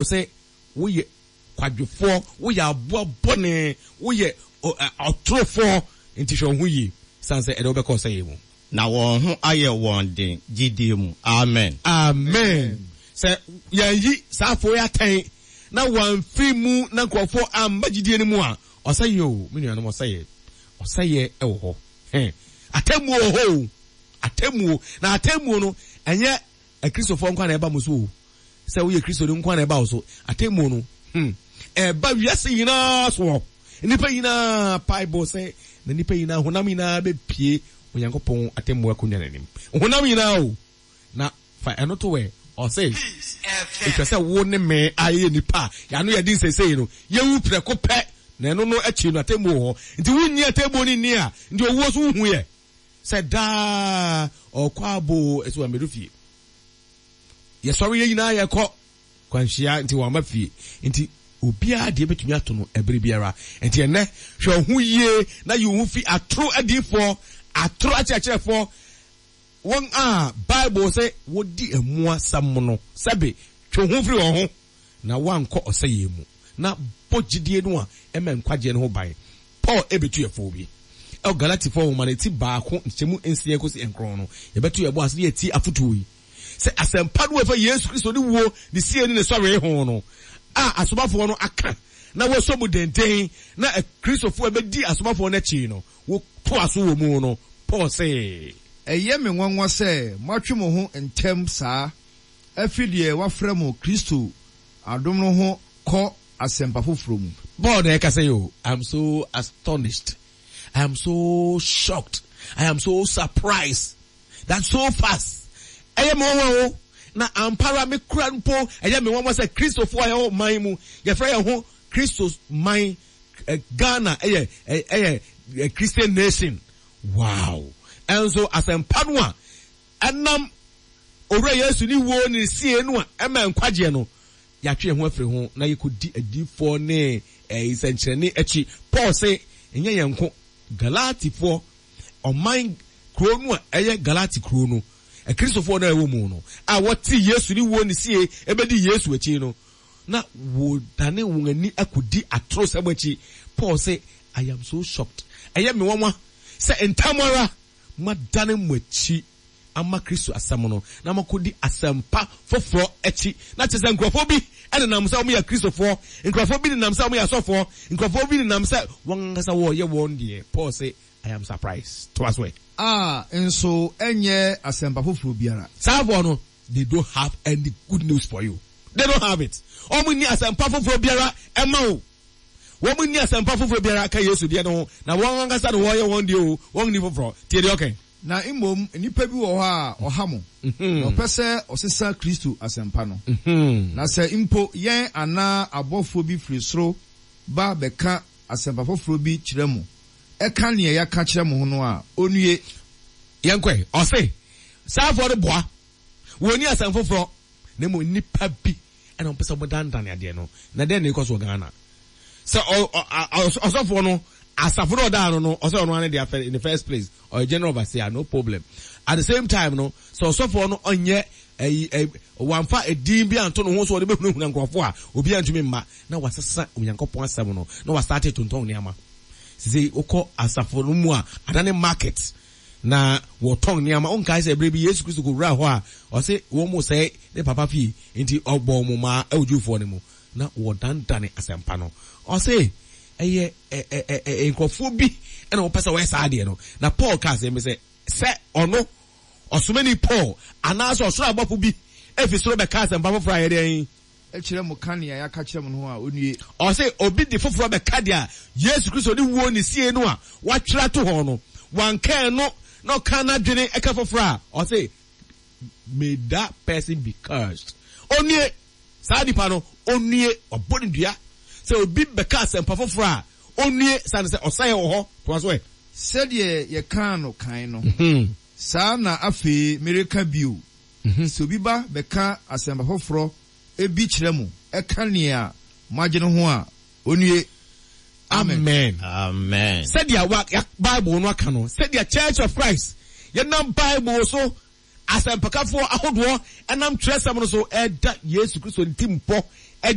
Sɛ woyɛ kwadwofoɔ, woyɛ aboa bɔne, woyɛ ɔtorofoɔ, nti hwɛ wo ho yie, sane sɛ ɛde wo bɛkɔ ɔsɛeɛ mu. Na wɔn ho ayɛ wɔn den gyidie mu. Amen. Amen. Sɛ yɛanyi saa afoɔ yi atɛn na wɔamfiri mu na nkurɔfoɔ amma gyidie no mu a, ɔsɛeɛ o, me nuanom, ɔsɛeɛ. Ɔsɛeɛ wɔ hɔ. Hɛn. Atemmuo wɔ hɔ o. Atemmuo. Na atemmuo no, ɛnyɛ Akristofoɔ nko ara na ɛba mo so o. Sɛ woyɛ Kristoni nko ara na ɛba wo so. Atemmuo no, hmm, ɛba wiase nyinaa soɔ. Nnipa nyinaa, Bible sɛ, na nnipa nyinaa, honam nyinaa bɛpue Onyankopɔn atemmuo akonnwa no anim. Honam nyinaa o. Na fa ɛno to ɛ, ɔse, ɛtwa sɛ wo ne me a yɛyɛ nnipa a yɛano yɛ den seesei no, yɛwu prɛko pɛ, na ɛno no akyi no atemmuo wɔ hɔ. Nti wonnye atemmuo no nni a, nti owuo so wohu yɛ sɛ daa ɔkɔ aboo ɛsɛ wammɛdu fie. Yɛsɔre yɛn nyinaa yɛkɔ kwanhyia nti wamma fie nti obiara deɛ bɛtumi ato no ɛberɛ biara nti ɛnɛ hwɛ wo ho yie na yi wo ho fi atoro adiyifoɔ atoro akyerɛkyerɛfoɔ wɔn a Bible sɛ wɔdi mmoa sam no sɛbe twe wo ho firi wɔn ho na woankɔ ɔsɛeɛ mu, na bɔ gyidie no a ɛma nkwagyeɛ no ho ban. Paul rebɛtu yɛn fo bi. Ɛwɔ Galatifoɔ nwoma no ti baako nkyɛmu nsia kɔsi nkron no, yɛbɛto yɛn bo ase na yɛatie afotuo yi, sɛ asɛmpa no a ɛfa Yesu Kristo ne wuo, ne sie ne ne sɔree ho no a asomafoɔ no aka na wɔasɔ mu denden na Kristofoɔ a ɛbɛdi asomafoɔ no akyi no wɔtoa so wɔ mu no, Paul se. Ɛyɛ me nwanwa sɛ moatwe mo ho ntɛm saa afiri deɛ wɔafrɛ mo Kristo adom no ho kɔ asɛmpa foforɔ mu. Paul na ɛkasa yi o, I am so astonished, I am so shocked, I am so surprised that so fast. Ɛyɛ me nwanwa o, na ampa ara me kura mpo ɛyɛ me nwanwa sɛ Kristofoɔ a yɛwɔ man mu, yɛfrɛ yɛn ho Kristo man, Ghana ɛyɛ ɛyɛ Christian nation. Wow! Ɛnso asɛmpa no a Ɛnam Owura Yesu ne wuo ne ne sie no a ɛma nkwagyeɛ no, yɛatwe yɛn ho afiri ho na yɛkɔdi adiyifoɔ ne nsɛnkyerɛnne akyi. Paul se, ɛnyɛ yɛn nko, Galatifoɔ, ɔman kuro no a ɛyɛ Galati kuro no, Akristofoɔ no a ɛwɔ mu no, a wɔtee Yesu ne wuo ne sie bɛdii Yesu akyi no, na wɔdane wɔn ani akɔdi atorosɛm akyi. Paul se, I am so shocked. Ɛyɛ me nwanwa sɛ ntɛm ara Moadane mo akyi ama Kristo asɛm no, na moakɔdi asɛmpa foforɔ akyi. Na kyerɛ sɛ nkurɔfoɔ bi nenam sɛ wɔyɛ Kristofoɔ, nkurɔfoɔ bi nenam sɛ wɔyɛ asɔfoɔ, nkurɔfoɔ bi nenam sɛ wɔn ankasa wɔreyɛ wɔn deɛ. Paul se, I am surprised. Toa so ɛ. A nso ɛnyɛ asɛmpa foforɔ biara. Saa foɔ no, they don't have any good news for you. They don't have it. Wɔn nni asɛmpa foforɔ biara mma wo. Wɔn nni asɛmpa foforɔ biara ka Yesu deɛ no ho, na wɔn ankasa na wɔyɛ wɔn deɛ oo, wɔn nni foforɔ. Tie deɛ ɔka yi. Na mmom nnipa bi wɔ hɔ a ɔha mo, na ɔpɛ sɛ ɔsesa Kristo asɛmpa no. Na sɛ mpo yɛn anaa abɔfoɔ bi firi soro ba bɛka asɛmpa foforɔ bi kyerɛ mo, ɛka deɛ yɛaka kyerɛ mo ho no a, ɔnnue! Yɛnkɔ ɛ. Ɔse, saa afoɔ no boa, wɔnni asɛm foforɔ, na mmom nnipa bi ɛna wɔpɛ sɛ wɔdanedane adeɛ no. Na dɛn na ɛkɔ so wɔ Ghana? Sɛ ɔsɔfoɔ no, asafo no ɔdaa no no, ɔsɛ ɔno ara ne deɛ in the first place, ɔyɛ general overseer, no problem. At the same time no, sɛ ɔsɔfoɔ no ɔnyɛ ɛyi ɛ wɔamfa edin bi anto ne ho so ɔde bɛhunahuna nkurɔfoɔ a, obiara ntumi mma na wasesa Onyankopɔn asɛm no na wasate tontɔn nneɛma. Sisi wokɔ asafo no mu a, adane market. Na wɔtɔn nneɛma. Wonkae sɛ berɛ bi Yesu Kristo kɔwuraa hɔ a, ɔse wɔn resɛe ne papa fie, nti ɔbɔɔ wɔn mmaa wɔ Jewfoɔ no mu, na wɔdandane asɛmpa no. Ɔse ɛyɛ ɛ-ɛ-ɛ nkurɔfoɔ bi na wɔpɛ sɛ wɔyɛ saa adeɛ no. Na Paul kaa asɛm bi sɛ, sɛ ɔno, ɔsomani Paul, anaasɛ ɔsoro abɔfo bi fi soro bɛka asɛmpa foforɔ a, ɛyɛ dɛn? Kyerɛ mo ka nea yɛaka kyerɛ mo no ho a, onnue. Ɔse obi de foforɔ bɛka deɛ Yesu Kristo ne wuo ne sie no a watwerɛ ato hɔ no, wanka ɛno na ɔka n'adwene ka foforɔ a, ɔse may that person be cursed. Onnue! Saa nipa no, onnue! Wabɔ no dua. Sɛ obi bɛka asɛmpa foforɔ a, onnue! Sane sɛ ɔsɛeɛ wɔ hɔ. Toa so ɛ. Sɛdeɛ yɛkaa no kan no, saa na afei mereka bio, Sɛ obi ba bɛka asɛmpa foforɔ bi kyerɛ mo ka nea moagye no ho a, ɔnnue. Amen. Amen. Sɛdeɛ wa, ya, Bible no aka no, sɛdeɛ Church of Christ, yɛnam Bible so asɛmpakafoɔ ahodoɔ nam twerɛsɛm no so ɛda Yesu Kristo ntimpɔ.